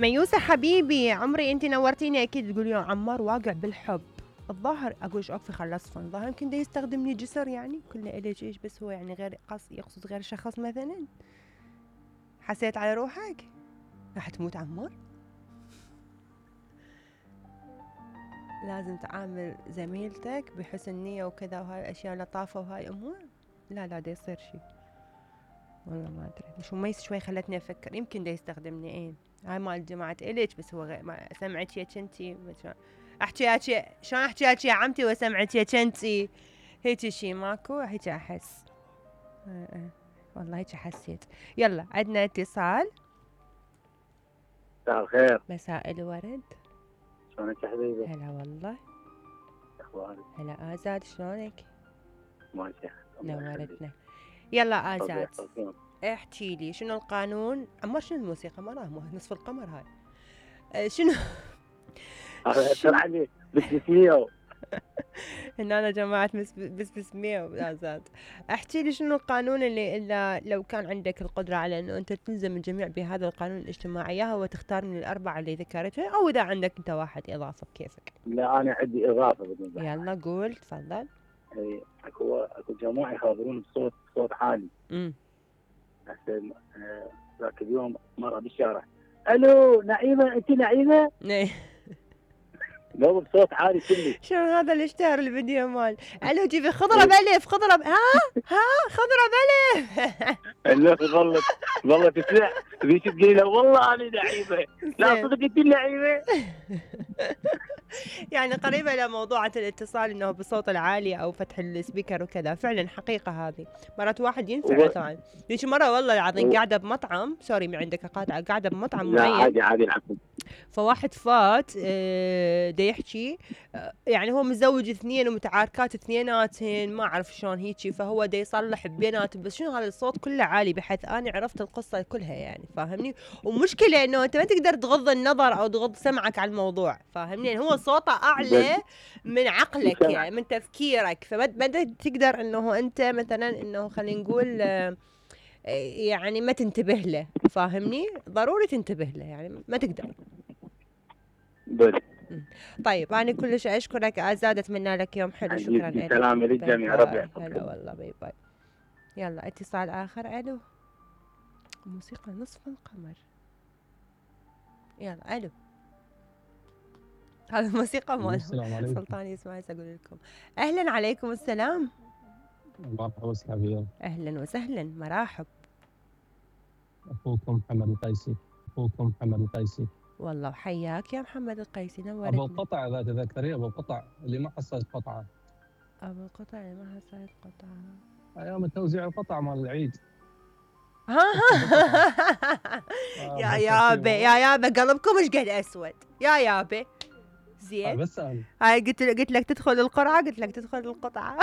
ميوسة حبيبي عمري انت نورتيني. اكيد تقول يا عمار واقع بالحب. الظاهر اقول ايش اكفي خلصفن. الظاهر يمكن ده يستخدمني جسر يعني كله اليش ايش بس هو يعني غير يقصد غير شخص مثلا. حسيت على روحك راح تموت عمار. لازم تعامل زميلتك بحسن نية وكذا وهاي الاشياء لطافة وهاي امور. لا دا يصير شي والله ما ادري. مش مميز شوي خلتني افكر يمكن ده يستخدمني. ايه هاي مال جماعة إليش بس هو غير ما سمعت يا كنتي احكي هيك شلون احكي هيك يا عمتي وسمعت يا كنتي هيك شي ماكو هيك احس. والله هيك حسيت. يلا عندنا اتصال. مساء الخير. مساء الورد. شلونك يا حبيبي؟ هلا والله. اخبارك؟ هلا آزاد شلونك؟ ماشي نورتنا. يلا آزاد احكي لي شنو القانون. عمار شنو الموسيقى مرة نصف القمر هاي شنو شرعني بسمية ان انا جماعة بس مية آزاد. احكي لي شنو القانون اللي الا لو كان عندك القدرة على انه انت تلزم الجميع بهذا القانون الاجتماعي ياها وتختار من الاربعة اللي ذكرتها او اذا عندك انت واحد اضافة بكيفك. لا انا عندي اضافة بالنسبة. يلا قول تفضل. اي اكو جماعة يخاطرون بصوت عالي. هسه ذاك اليوم مرة بالشارع الو نعيمة انت نعيمة؟ لو بصوت عالي كله. شنو هذا اللي اشتهر الفيديو مال الو جيبي خضرة بألف خضرة ها خضرة بألف. والله تسمع ذيك تقول له والله انا نعيمة لا صدق انت نعيمة. يعني قريبة إلى موضوعة الاتصال إنه بصوت العالي أو فتح السبيكر وكذا. فعلا حقيقة هذه مرات واحد ينفع طبعا. ليش مرة والله العظيم قاعدة بمطعم سوري من عندك قاطع قاعدة بمطعم معين. لا عادي العفو. فواحد فات دا يحكي يعني هو متزوج اثنين ومتعاركات اثنيناتهن ما أعرف شلون هيجي. فهو دا يصلح بيناتهم بس شنو هذا الصوت كله عالي بحيث أنا عرفت القصة كلها يعني فاهمني. ومشكلة إنه أنت ما تقدر تغض النظر أو تغض سمعك على الموضوع فاهمني. يعني هو صوته أعلى من عقلك يعني من تفكيرك. فما تقدر إنه أنت مثلا إنه خلينا نقول يعني ما تنتبه له فاهمني. ضروري تنتبه له يعني ما تقدر. طيب أنا كلش أشكرك آزاد. أتمنى لك يوم حلو. شكرا لك. سلام للجميع ربي يحفظك. هلا والله باي باي. يلا اتصال آخر. ألو موسيقى نصف القمر. يلا ألو هذا موسيقى مال سلطان يسمع أقول لكم. أهلا عليكم السلام. مرحبا وسهلا. أهلا وسهلا مرحب. أخوكم محمد القيسي. والله وحياك يا محمد القيسي نورتني. أبو القطع إذا تذكرين أبو القطع اللي ما حصلت قطعة. أبو القطع اللي ما حصلت قطعة أيام التوزيع القطع مال العيد. يا يابا قلبكم ايش قد اسود يا يابا. زين بس هاي قلت لك تدخل القرعة قلت لك تدخل القطعة.